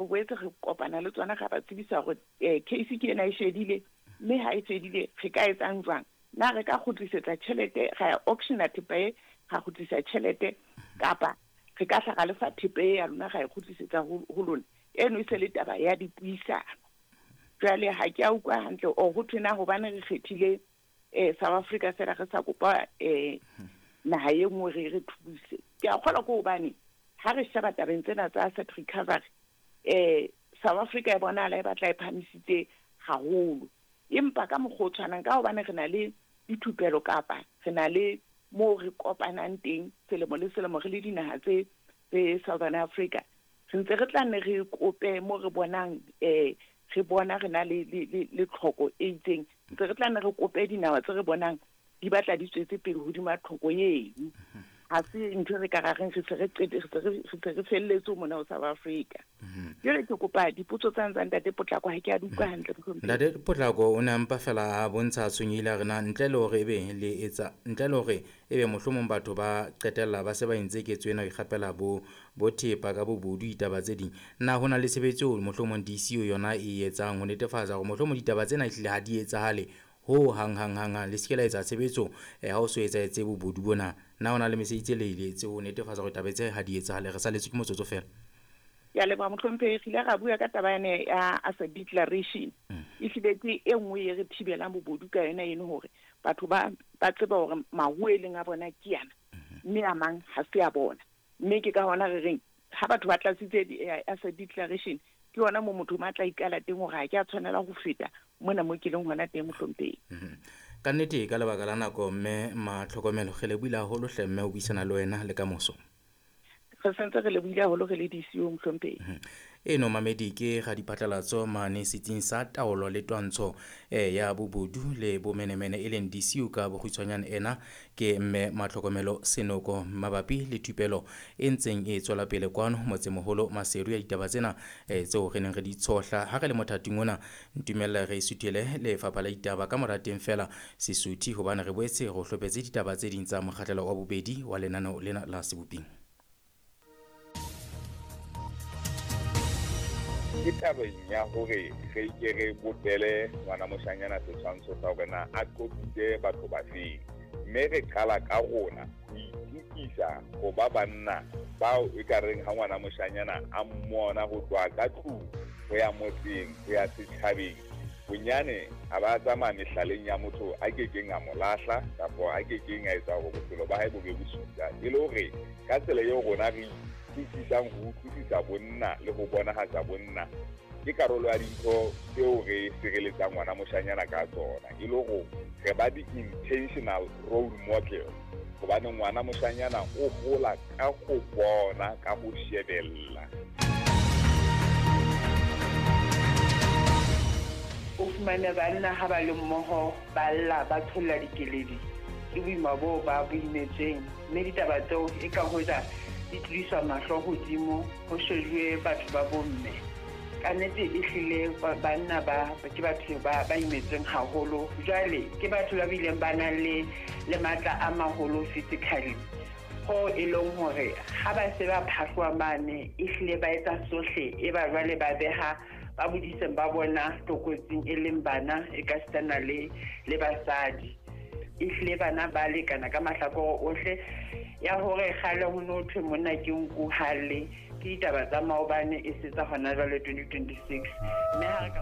Boetse re kopana le tsona, ra ba tsebisa hore case ke ena e shedile, mme ha e fedile re ka etsang jwang? Na re ka kgutlisetsa tjhelete, ra ya auctiona thepa e, ra kgutlisa tjhelete, kapa re ka hla ra lefa thepa e ya lona, ra e kgutlisetsa ho lona? Eno e se le taba ya dipuisano. Jwale ha ke a utlwa hantle o ho thwe na hobane re kgethile South Africa fela, re sa kopa naha e nngwe re thuse. Ke a kgolwa ke hobane ha re sheba tabeng tsena tsa asset recovery, South Africa e bonahala e batla e phahamisitse haholo, empa ka mokgwa o tshwanang, ka hobane re na le dithupelo kapa re na le moo re kopanang teng selemo le selemo re le dinaha tse Southern Africa, re ntse re tla nne re kope mo re bonang re bona re na le le tlhoko e itseng, ntse re tla nne re kope dinaha tse re bonang di batla di tswetse pele hodima tlhoko eno. Ha se ntho re ka ra reng re se re qete, re se re felletse mona ho South Africa. Jwale ke kopa dipotso tsa ntate Potlako, ha ke a di utlwa hantle, mohlomphehi. Ntate Potlako o ne a mpa fela a bontsha tshwenyehile a re na ntle le hore ebe le etsa, ntle le hore ebe mohlomong batho ba qetella ba se ba entse ketso ena ho ikgapela bo thepa ka bobodu, ditaba tse ding, na ho na le tshebetso eo mohlomong DCU yona e etsang ho netefatsa hore mohlomong ditaba tsena ehlile ha di etsahale ho hang hang hang hang, le se ke la etsa tshebetso ha o so etsahetse bobodu bona? Na ho na le mesebetsi e le e etse ho netefatsa hore taba tse ha di etsahale? Re saletswe ke motsotso fela. Ke a leboha, mohlomphehi. Re ile ra bua ka taba yane ya asset declaration. Ehlile ke e nngwe e re thibelang bobodu ka yona eno, hore batho ba tseba hore maruo e leng a bona ke ana, mme a mang ha se a bona. Mme ke ka hona re reng ha batho ba tlatsitse asset declaration, ke yona mo motho ma tla ikala teng hore ha ke a tshwanela ho feta mona mo ke leng hona teng, mohlomphehi. Ka nnete, ka lebaka la nako, mme Matlhokomelo, re lebohile haholo hle mme ho buisana le wena le ka moso. Re sentse re lebohile haholo re le DCU, mohlomphehi. Eno mamedi ke radiphatlalatso mane setsing sa taolo le twantsho ya bobodu le bomenemene, e leng DCU ka bokgutshwanyane. Ena ke mme Matlhokomelo Senoko mabapi le thupelo e ntseng e tswela pele kwano motsemoholo Maseru ya ditaba tsena tseo re neng re di tshohla ha re le mothating ona. Ntumella re suthele lefapha la ditaba ka mora teng fela Sesuthi, hobane re boetse re hlophetse ditaba tse ding tsa mokgahlelo wa bobedi wa lenaneo lena la Seboping. Ke tabeng ya hore re ke re bopele ngwana moshanyana setshwantsho sa hore na a qotsitse batho ba feng, mme re qala ka rona ho itukisa ho ba banna bao e ka reng ha ngwana moshanyana a mmona ho tloha ka tlung ho ya motseng ho ya setjhabeng, bonyane a ba tsamaya mehlaleng ya motho a kekeng a mo lahla kapa a kekeng a etsa hore bophelo ba hae bo be bosula, e le hore ka tsela eo rona re utlwisisang ho utlwisisa bonna le ho bonahatsa bonna ke karolo ya dintho tseo re sireletsang ngwana moshanyana ka tsona, e le hore re ba di-intentional role model, hobane ngwana moshanyana o hola ka ho bona, ka ho shebella. O fumane banna ha ba le mmoho ba lla, ba tsholla dikeledi ke boima boo ba bo imetsweng, mme ditaba tseo e ka hoja di tlodiswa mahlo hodimo ho shejuwe batho ba bomme. Ka nnete ehlile banna ba ke batho ba imetsweng haholo. Jwale ke batho ba bileng ba nang le matla a maholo physically, ho e leng hore ha ba se ba phahloha mane, ehlile ba etsa sohle, e ba jwale ba beha ba bodiseng ba bona tlokotsing, e leng bana e ka sitana le basadi. Ehlile bana ba lekana ka mahlakore ohle. Ya hore kgale ho no thwe monna ke nku halle, ke ditaba tsa maobane, e se tsa hona jwale 2026. Mme ha re ka